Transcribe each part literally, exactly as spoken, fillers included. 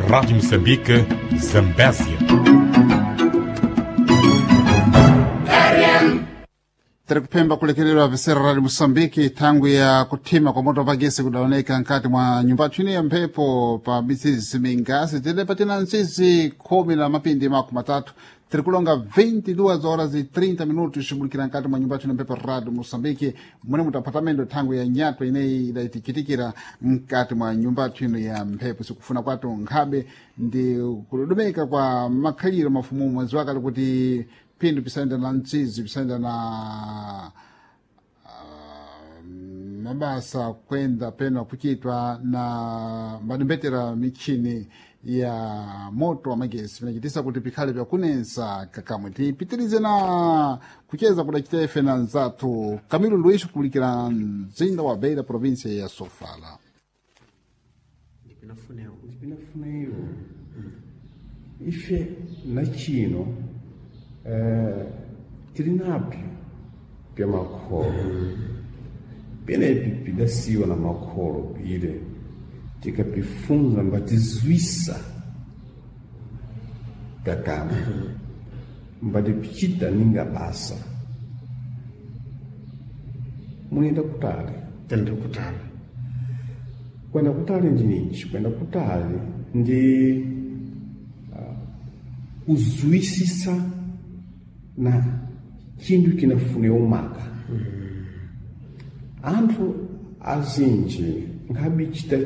Rádio Moçambique, Zambésia. Tiri kuphemba kulekererwa visera Radio Moçambique thangwi ya kuthima kwa moto pagesi kudaoneka nkati mwa nyumba tshwini ya mphepo pa misizi mingasi tili patina ntsizi khumi na mapindi makumi matatu tiri kulonga vinte e duas horas e trinta minutos xibulukira nkati mwa nyumba tshwini ya mphepo Radio Moçambique mune mutaphatamendo thangwi ya nyatwa ineyi idayitichitikira nkati mwa nyumba tshwino ya mphepo. Sikufuna kwatu nkhabe ndi kudodомeka kwa makhaliro mafumu mwezi wakale kuti phindu pisayenda na mtsizi pisayenda na ah, mabasa kwenda peno kuchitwa na mbadimbetera michini ya moto wa magesi pinachitisa kuti pikhale pyakunensa kakamwe. Tipitirize na kucheza kudachita ife na nzathu Camilo Luís kupulikira mzinda wa Beira, província ya Sofala. Ndipinafunewo. Ndipinafuneyo ife na chino eh, tili nabyo bya makholo penepi bidasiwa na makholo bile tikapifunza mbatizwisa kakama mbatipichita ninga basa munenda kutali. Tende kutala. Kwenda kutali ndi ninji? Kwenda kutali ndi uh, kuzwisisa na chinthu chinafune umaka. Anthu azinji nkhabichita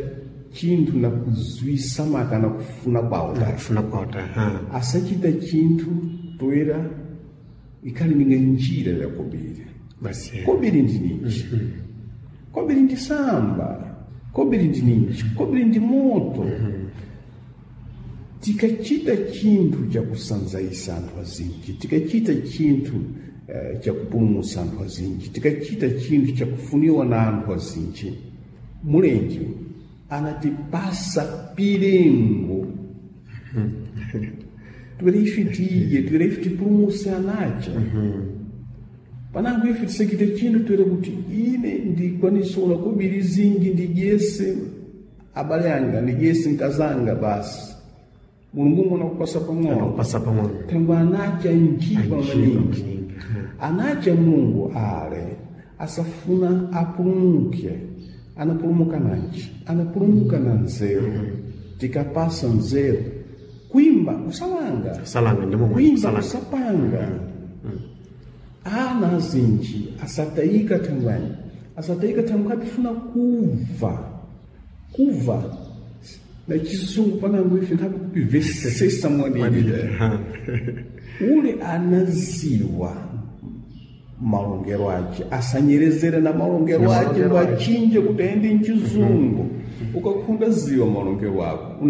chinthu na kuzwisa maka na kufuna kwawo ta. Kufuna kwauta ha. Asachita chinthu toera ikhali ninga njira ya kobiri. Basi. Kobiri ndi ninji? Kobiri ndi samba. Kobiri ndi ninji? Kobiri ndi moto. Tikachita chinthu chakusanzaisa anthu azinji, tikachita chinthu eh, chakupulumutsa anthu azinji, tikachita chinthu chakufuniwa na anthu azinji, mulenje anatipasa pilengo twere ife tiye, twere ife tipulumutse anacha. Panango ife tisakite chinthu twere kuti ine ndikwanisa una kobiri zinji ndidyese abale anga, ndidyese mkazanga basi. Mulungu mwana kupasa pang'ono. Kupasa pang'ono. Thangwe anacha njipa Njipa maningi. maningi. Anacha Mulungu ale asafuna apulumuke. Anapulumuka nanji? Anapulumuka na nzeru. Tikapasa nzeru, kuimba kusalanga. Kusalanga ndi momwe. Kuimba Kusalanga. kusapanga. Ana azinji asatayika thangwani, asatayika thangwe abifuna kuva kuva na chizungu panango ife nthawi kupivesesa mwadidi Ha. ule anaziwa malongero ace asanyerezere na malongero ace malongero ace. wachinje kuti aende mchizungu. Ukakhunda ziwa malongero ako una.